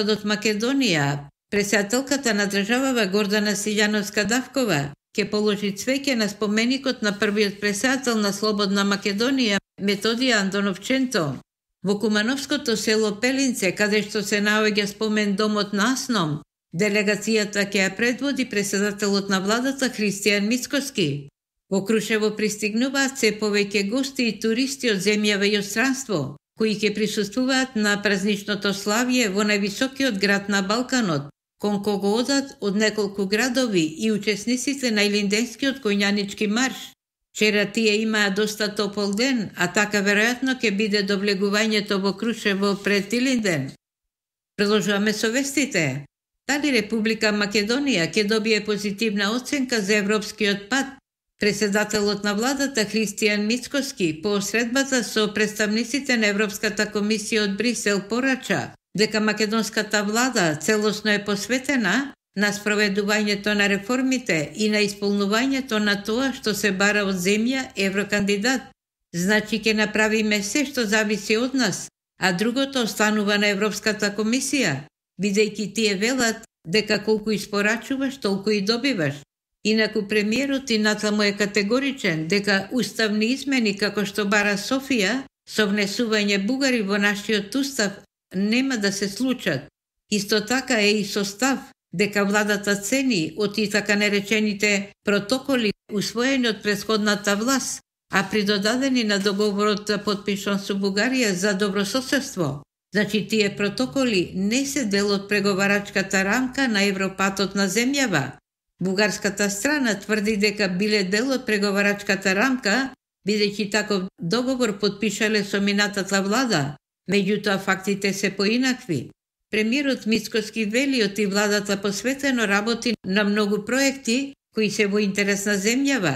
од Македонија, председателката на државава Гордана Силјановска-Давкова ќе положи цвеќе на споменикот на првиот председател на Слободна Македонија Методија Андоновченто. Во Кумановското село Пелинце, каде што се наоѓа спомен домот на Асном, делегацијата ќе ја предводи председателот на владата Христијан Мицкоски. Во Крушево пристигнуваат се повеќе гости и туристи од земјава и од странство, кои ќе присуствуваат на празничното славје во највисокиот град на Балканот, кон кого одат од неколку градови и учесниците на Илинденскиот коњанички марш. Вчера тие имаа доста топол ден, а така веројатно ќе биде до влегувањето во Крушево пред Илинден. Продолжуваме со вестите. Дали Република Македонија ќе добие позитивна оценка за европскиот пат? Председателот на владата Христијан Мицкоски по средбата со представниците на Европската комисија од Брисел порача дека македонската влада целосно е посветена на спроведувањето на реформите и на исполнувањето на тоа што се бара од земја еврокандидат. Значи ќе направиме се што зависи од нас, а другото останува на Европската комисија, бидејќи тие велат дека колку испорачуваш, толку и добиваш. Инаку премиерот и натаму е категоричен дека уставни измени како што бара Софија со внесување бугари во нашиот устав нема да се случат. Исто така е и со став дека владата цени од и така наречените протоколи усвоени од претходната власт, а придодадени на договорот потпишан со Бугарија за добрососедство. Значи тие протоколи не се дел од преговарачката рамка на Европатот на земјава. Бугарската страна тврди дека биле дел од преговарачката рамка, бидејќи таков договор потпишале со минатата влада, меѓутоа фактите се поинакви. Премиерот Мицкоски вели од и владата посветено работи на многу проекти кои се во интерес на земјава,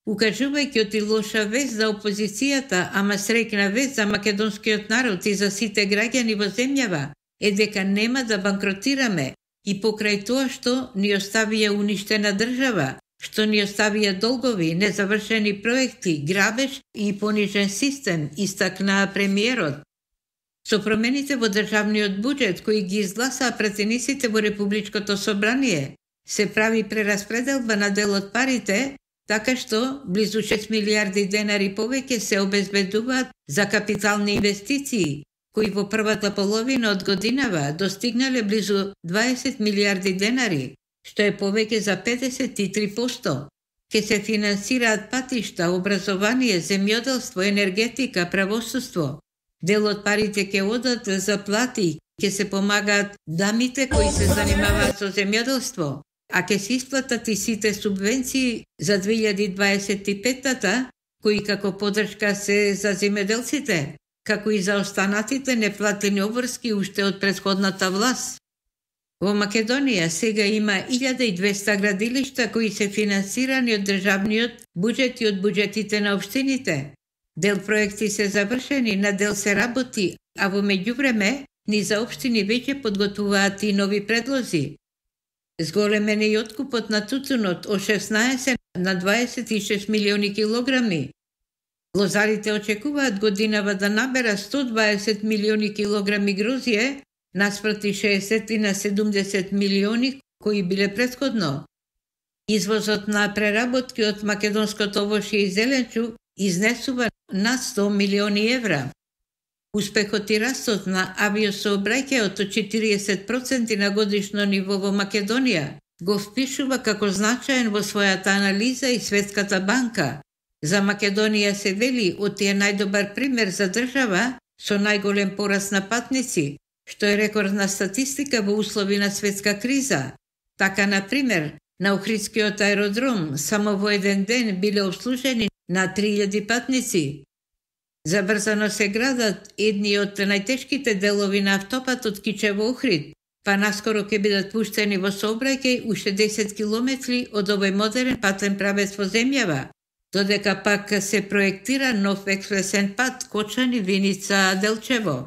укажувајќи од и лоша вест за опозицијата, ама среќна вест за македонскиот народ и за сите граѓани во земјава е дека нема да банкротираме и покрај тоа што ни оставија уништена држава, што ни оставија долгови, незавршени проекти, грабеж и понижен систем, истакнаа премиерот. Со промените во државниот буџет кои ги изгласаа пратениците во Републичкото собрание, се прави прераспределба на дел од парите, така што близу 6 милиарди денари повеќе се обезбедуваат за капитални инвестиции, кои во првата половина од годинава достигнале близу 20 милиарди денари, што е повеќе за 53%. Ке се финансираат патишта, образование, земјоделство, енергетика, правосудство. Дел од парите ќе одат за плати, ќе се помагаат дамите кои се занимаваат со земјоделство, а ќе се исплатат и сите субвенции за 2025-та, кои како подршка се за земјоделците, како и за останатите неплатени обврски уште од претходната власт. Во Македонија сега има 1200 градилишта кои се финансирани од државниот буџет и од буџетите на општините. Дел проекти се завршени, на дел се работи, а во меѓувреме низа општини веќе подготвуваат и нови предлози. Зголемен е и откупот на тутунот од 16 на 26 милиони килограми. Лозарите очекуваат годинава да набера 120 милиони килограми грозје, наспроти 60 на 70 милиони кои биле претходно. Извозот на преработки од македонското овошје и зеленчук изнесува над 100 милиони евра. Успехот и растот на авиосообраќајот од 40% на годишно ниво во Македонија го впишува како значаен во својата анализа и Светската банка. За Македонија се вели од е најдобар пример за држава со најголем пораст на патници, што е рекордна статистика во услови на светска криза. Така, на пример, на Охридскиот аеродром само во еден ден биле обслужени на 3000 патници. Забрзано се градат едни од најтешките делови на автопатот Кичево-Охрид, па наскоро ќе бидат пуштени во сообраќај уште 10 километри од овој модерен патен правец во земјава, додека пак се проектира нов експресен пат Кочани-Виница-Делчево.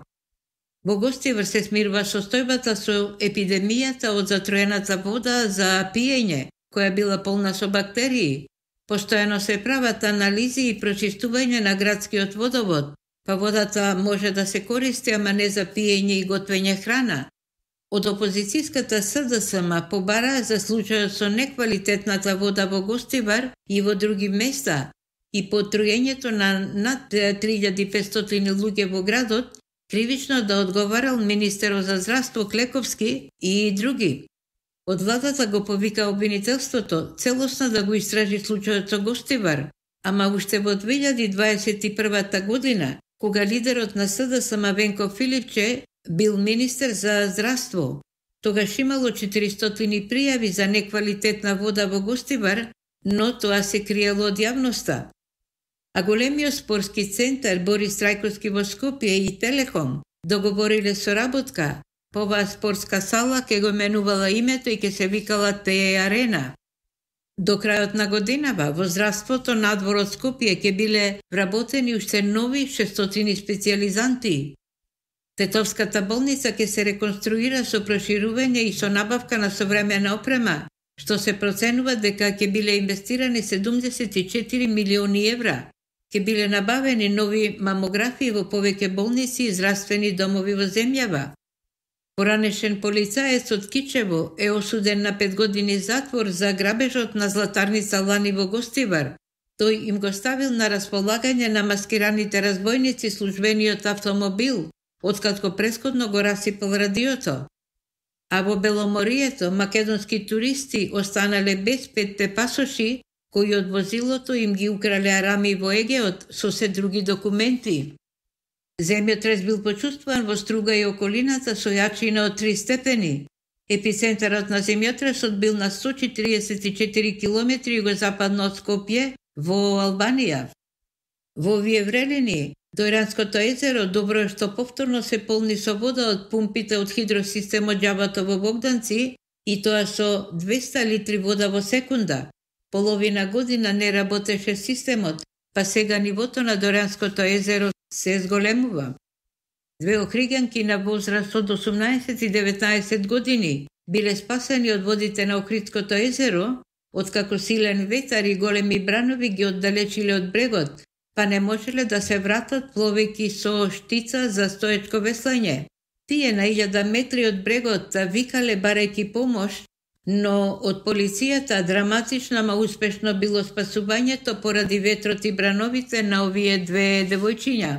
Во Гостивар се смирува состојбата со епидемијата од затроената вода за пиење, која била полна со бактерии. Постојано се прават анализи и прочистување на градскиот водовод, па водата може да се користи, ама не за пиење и готвење храна. Од опозицијската СДСМ побараа за случајот со неквалитетната вода во Гостивар и во други места и по труењето на над 3500 луѓе во градот, кривично да одговарал министерот за здравство Клековски и други. Од владата го повика обвинителството целосно да го истражи случајот со Гостивар, ама уште во 2021 година, кога лидерот на СДСМ Венко Филипче бил министер за здравство, тогаш имало 400 пријави за неквалитетна вода во Гостивар, но тоа се криело од јавноста. А големиот спортски центар Борис Трајковски во Скопје и Телеком договориле соработка. По оваа спортска сала ке го менувала името и ке се викала ТЕ Арена. До крајот на годинава во здравството надвор од Скопје ке биле вработени уште нови 600 специјализанти. Тетовската болница ке се реконструира со проширување и со набавка на современа опрема, што се проценува дека ке биле инвестирани 74 милиони евра. Ке биле набавени нови мамографии во повеќе болници и здравствени домови во земјава. Поранешен полицаец од Кичево е осуден на 5 години затвор за грабежот на златарница Лани во Гостивар. Тој им го ставил на располагање на маскираните разбойници службениот автомобил, откако претходно го расипал радиото. А во Беломорието македонски туристи останале без 5 пасоши, кои од возилото им ги украле арами во Егеот со се други документи. Земјотрес бил почувствуван во Струга и околината со јачина од 3 степени. Епицентарот на земјотресот бил на 144 км југозападно од Скопје во Албанија. Во овие врелини, Дојранското езеро добро е што повторно се полни со вода од пумпите од хидросистемот Џабато во Богданци и тоа со 200 литри вода во секунда. Половина година не работеше системот, па сега нивото на Дојранското езеро се зголемува. Две охриѓанки на возраст од 18 и 19 години биле спасени од водите на Охридското езеро, откако силен ветар и големи бранови ги оддалечиле од брегот, па не можеле да се вратат пловејќи со штица за стоечко веслање. Тие на 1000 метри од брегот викале барајќи помош, но од полицијата драматично, ама успешно било спасувањето поради ветрот и брановите на овие две девојчиња.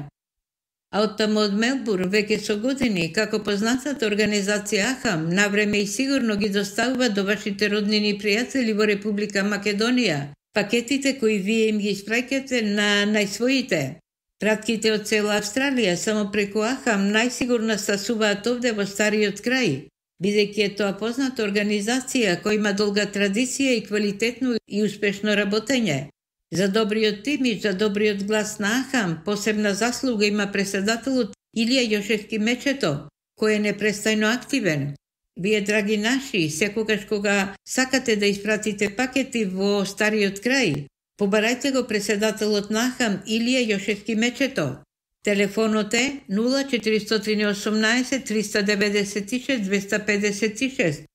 А оттаму од Мелбурн веќе со години, како познатата организација АХАМ, навреме и сигурно ги доставува до вашите роднини и пријатели во Република Македонија пакетите кои вие им ги испраќате на најсвоите. Пратките од цела Австралија само преку АХАМ најсигурно стасуваат овде во стариот крај, бидејќи е тоа позната организација која има долга традиција и квалитетно и успешно работење. За добриот имидж, за добриот глас на АХАМ, посебна заслуга има преседателот Илија Јошевски Мечето, кој е непрестајно активен. Вие, драги наши, секогаш кога сакате да испратите пакети во стариот крај, побарајте го преседателот на АХАМ Илија Јошевски Мечето. Телефонот е 0418 396 256.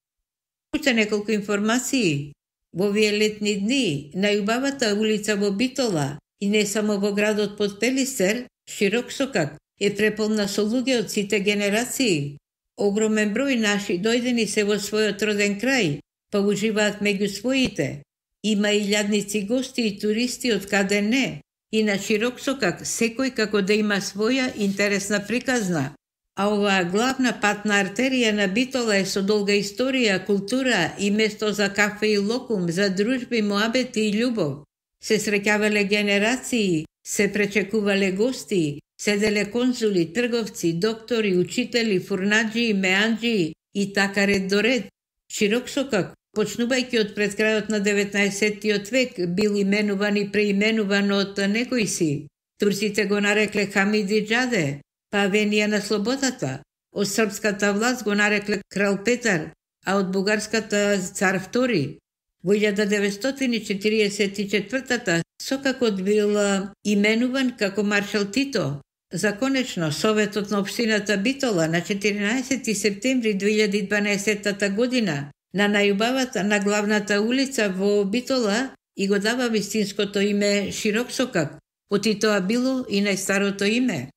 Уште неколку информации. Во овие летни дни, најубавата улица во Битола и не само во градот под Пелистер, Широксокак, е преполна со луѓе од сите генерации. Огромен број наши дојдени се во својот роден крај, па уживаат меѓу своите. Има илјадници гости и туристи од каде не, и на Широксокак секој како да има своја интересна приказна. А оваа главна патна артерија на Битола е со долга историја, култура и место за кафе и локум, за дружби, моабети и љубов. Се среќавале генерации, се пречекувале гости, седеле конзули, трговци, доктори, учители, фурнаджи, меанджи и така ред до ред. Широксокак, почнувајќи од пред крајот на 19 век, бил именуван и преименуван од некои си. Турците го нарекле Хамиди Џаде, па Авенија на слободата. Од српската власт го нарекле Крал Петар, а од бугарската Цар Втори. Во 1944 сокакот бил именуван како Маршал Тито. Законечно, Советот на општината Битола на 14 септември 2012 година на најубавата на главната улица во Битола и го дава вистинското име Широксокак, оти тоа било и најстарото име.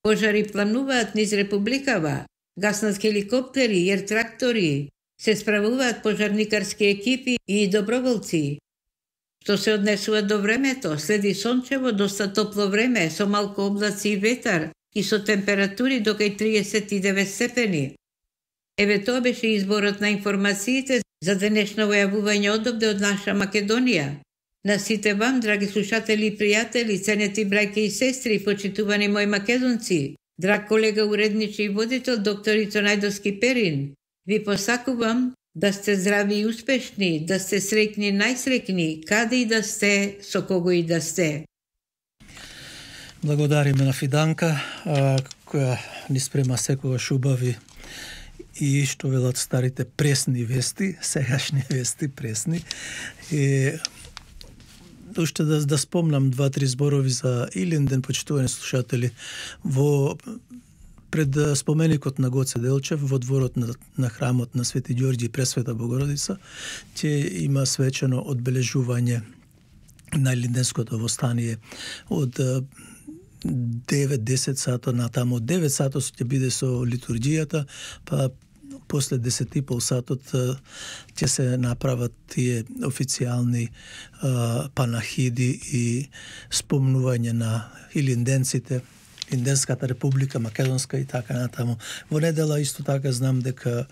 Пожари плануваат низ републикава, гаснат хеликоптери, јер трактори, се справуваат пожарникарски екипи и доброволци. Што се однесува до времето, следи сончево, доста топло време, со малку облаци и ветар и со температури до кај 39 степени. Еве тоа беше изборот на информациите за денешно војавување одовде од наша Македонија. На сите вам, драги слушатели и пријатели, ценети брајке и сестри, почитувани мои македонци, драг колега уредничи и водител доктор Ито Најдовски Перин, ви посакувам да сте здрави и успешни, да сте среќни, најсреќни, каде и да сте, со кого и да сте. Благодариме на Фиданка, која ни спрема секогаш убави и што велат старите пресни вести, сегашни вести пресни. И уште да спомнам 2-3 зборови за Илинден, почитувани слушатели, во пред споменикот на Гоце Делчев во дворот на храмот на Свети Ѓорѓи и Пресвета Богородица ќе има свечено одбележување на Илинденското востание од 9-10 сато на таму. 9 сато ќе биде со литургијата, па после 10,5 сатот ќе се направат тие официјални панахиди и спомнување на илинденците, Илинденската република, Македонска и така натаму. Во недела исто така знам дека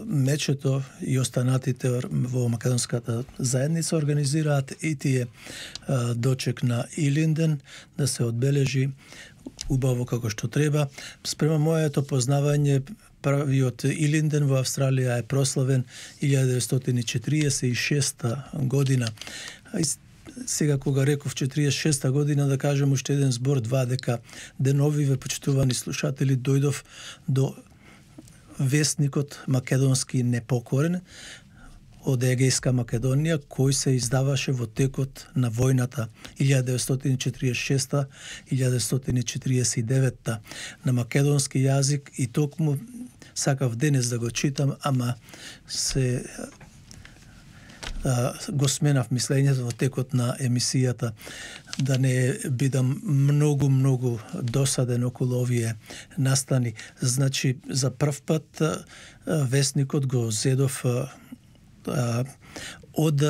мечето и останатите во македонската заедница организираат и тие дочек на Илинден да се одбележи убаво како што треба. Спрема моето познавање, правиот Илинден во Австралија е прославен 1946 година. Сега кога реков 46 година, да кажем уште еден збор, два, дека деновиве, почитувани слушатели, дојдов до вестникот македонски Непокорен од Егејска Македонија, кој се издаваше во текот на војната 1946-1949 на македонски јазик, и токму сакав денес да го читам, ама се го сменав мислењето во текот на емисијата, да не бидам многу досаден околу овие настани. Значи, за прв пат вестникот го зедов од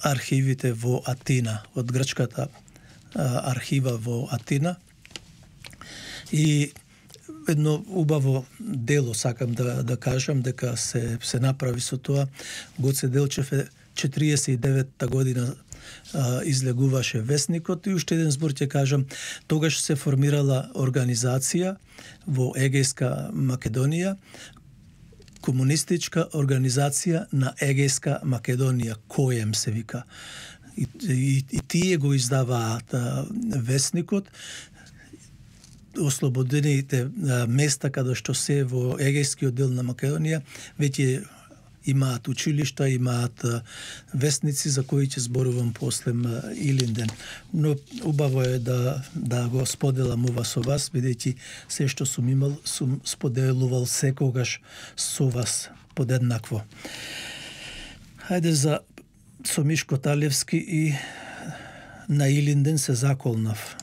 архивите во Атина, од грчката архива во Атина. И едно убаво дело сакам да кажам дека се направи со тоа. Гоце Делчев 49-та година излегуваше вестникот, и уште еден збор ќе кажам, тогаш се формирала организација во Егејска Македонија, комунистичка организација на Егејска Македонија, КОЕМ се вика. И тие го издаваат вестникот. Ослободените места каде што се во Егејскиот дел на Македонија веќе имаат училишта, имаат вестници за кои ќе зборувам после Илинден. Но убаво е да го споделам ова со вас, бидејќи се што сум имал, сум споделувал секогаш со вас подеднакво. Хајде со Мишко Талевски и на Илинден се заколнав.